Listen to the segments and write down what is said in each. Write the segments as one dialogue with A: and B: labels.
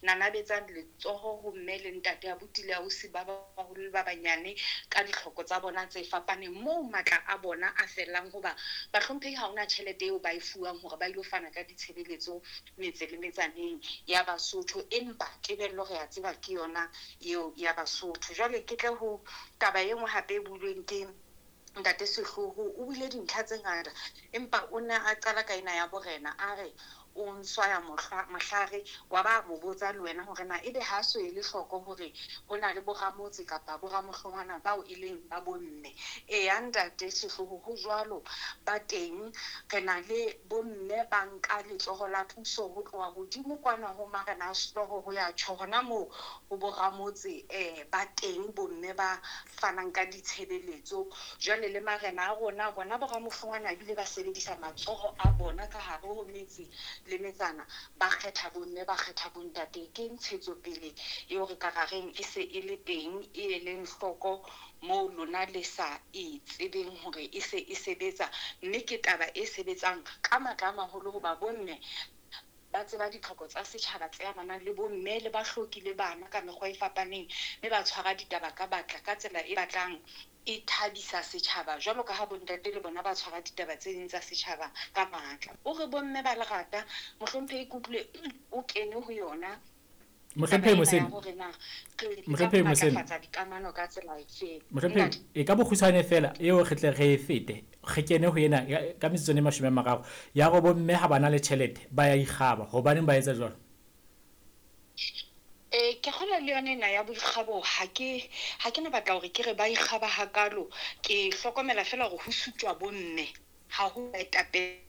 A: Nanabetsang letsoho ho mme le ntate, abuti le ausi, ba baholo le ba banyane ka ditlhoko tsa bona tse fapaneng, moo matla a bona a fellang. Hoba bahlomphehi ha hona tjhelete eo ba e fuwang hore ba ilo fana ka ditshebeletso metse le metsaneng ya Basotho, empa tebello re a tseba ke yona eo ya Basotho. Jwale ke tle ho taba e nngwe hape e builweng ke ntate Sehloho. O buile dintlha tse ngata, empa o ne a qala ka ena ya borena, a re o nswaya mohlare wa ba mo botsa le wena hore na ebe ha so ele hloko hore ho na le boramotse kapa boramohlongwana bao e leng ba bomme. Eya ntate Sehloho, ho jwalo, ba teng. Re na le bomme ba nka letsoho la puso ho tloha hodimo kwana ho marena a sehlooho ho ya tjho hona moo ho boramotse. Ba teng bomme ba fanang ka ditshebeletso. Jwale le marena a rona, bona boramohlongwana, ebile ba sebedisa matsoho a bona ka hare ho metse le metsana, ba kgetha bomme, ba kgetha bontate. Ke ntshetsopele eo re ka ra reng e se e le teng, e eleng hloko moo lona le sa e tsebeng hore e se e sebetsa, mme ke taba e sebetsang ka matla a maholo, hoba bomme ba tseba ditlhoko tsa setjhaba tse amanang le bomme le bahloki le bana ka mekgwa e fapaneng, mme ba tshwara ditaba ka batla ka tsela e batlang e thabisa setjhaba, jwalo ka ha bontate le bona ba tshwara ditaba tse ding tsa setjhaba ka matla. O re bomme ba lerata, mohlomphehi, ke utlwile o kene ho yona.
B: Mohlomphehi Mosene,
A: hore na re
B: Mohlomphehi Mosene.
A: Matlafatsa dikamano ka tsela efe?
B: Mohlomphehi, e ka bokgutshwane fela eo re tle re e fete, re kene ho ena ka metsotsong e 30 ya gore bomme ha ba na le tjhelete ba ya ikgaba. Hobaneng ba etsa jwalo?
A: Ke kgolwa le yona ena ya boikgabo, ha ke na batla hore ke re ba ikgaba hakalo. Ke hlokomela fela hore ho sutjwa bomme, ha ho baetapele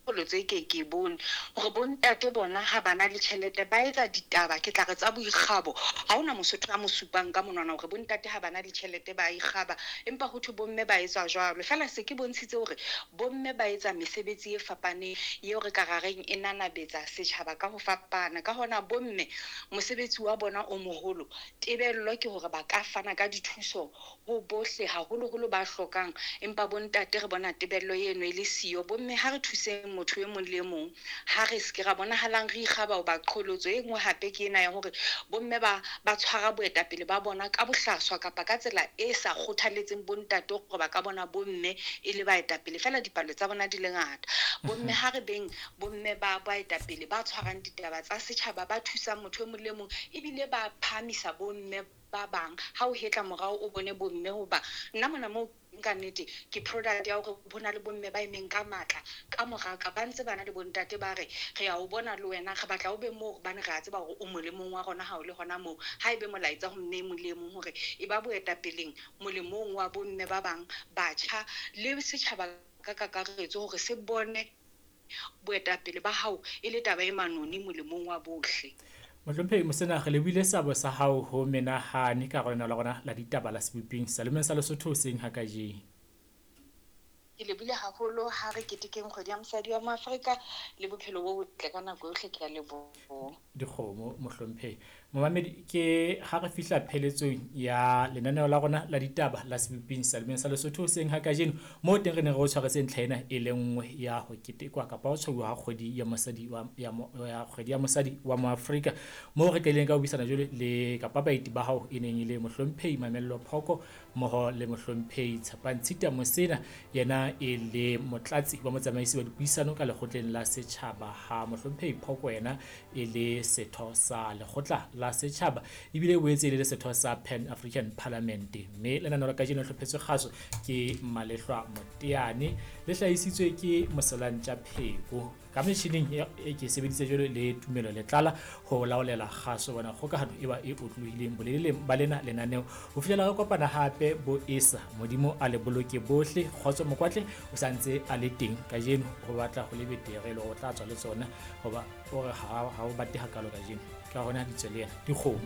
A: tse ke bone hore bontate bona ha ba na le tjhelete ba etsa ditaba, ke tla re tsa boikgabo. Ha hona Mosotho a mo supang ka monwana hore bontate ha ba na le tjhelete ba ikgaba, empa ho thwe bomme ba etsa jwalo. Feela se ke bontshitse hore bomme ba etsa mesebetsi e fapaneng eo re ka ra reng e nanabetsa setjhaba ka ho fapana. Ka hona bomme mosebetsi wa bona o moholo, tebello ke hore ba ka fana ka dithuso ho bohle, haholoholo ba hlokang, empa bontate re bona tebello eno e le siyo. Bomme ha re thuseng motho e mong le e mong, ha re se ke ra bonahalang re ikgaba. Hoba qholotso e nngwe hape ke ena ya hore bomme ba tshwara boetapele ba bona ka bohlaswa kapa ka tsela e sa kgothaletseng bontate hore ba ka bona bomme e le baetapele, feela dipalo tsa bona di le ngata. Bomme ha re beng bomme ba baetapele ba tshwarang ditaba tsa setjhaba, ba thusang motho e mong le mong, ebile ba phahamisa bomme ba bang. Ha o hetla morao o bone bomme, hoba nna mona moo ka nnete ke product ya hore ho na le bomme ba emeng ka matla ka moraka, ba ntse ba na le bontate, ba re re ya o bona le wena, re batla o be moo hobane re a tseba hore o molemong wa rona. Ha o le hona moo, ha ebe molaetsa ho mme e mong le e mong hore e ba boetapeleng molemong wa bomme ba bang, batjha le setjhaba ka kakaretso, hore se bone boetapele ba hao e le taba e manoni molemong wa bohle.
B: Mohlomphehi Mosena, re lebohile seabo sa hao ho menahane ka hara la rona la ditaba la Seboping Salomeng sa Lesotho hoseng ha kajeno.
A: Ke lebohile haholo. Ha re ketekeng Kgwedi ya Mosadi wa Moafrika le bophelo bo botle ka nako yohle. Ke a leboha.
B: Dikgomo, mohlomphehi. Momamedi, ke ha re fihla pheletsong ya lenaneo la rona la ditaba la Seboping Salomeng sa Lesotho hoseng ha kajeno, moo teng re ne re o tshwaretse ntlha ena e le nngwe ya ho ketekwa kapa ho tshwauwa ha kgwedi ya mosadi wa ya Kgwedi ya Mosadi wa Moafrika, moo re qadileng ka ho buisana jwale le kapa baeti ba hao e neng e le mohlomphehi Mamello Phoko mmoho le mohlomphehi Tshepang Tshita Mosena, yena e le motlatsi wa motsamaisi wa dipuisano ka lekgotleng la setjhaba, ha mohlomphehi Phoko yena e le setho sa lekgotla la setjhaba ebile e boetse e le setho sa Pan African Parliament. Mme lenaneo la kajeno le hlophetswe kgaso ke Malehlwa Moteane, le hlahisitswe ke Moselantja Pheko, ka metjhining e ke sebeditse jwalo le Tumelo Letlala ho laolela kgaso bona kgokahano e ba e otlolohileng boleleng ba lena lenaneo. Ho fihlela re kopana hape, bo esa Modimo a le boloke bohle. Kgotso Mokwatle o santse a le teng kajeno, ho batla ho le betere le hore o tla tswa le tsona, hoba o re ha o bate hakalo kajeno, ka hona di tswe le yena dikgomo.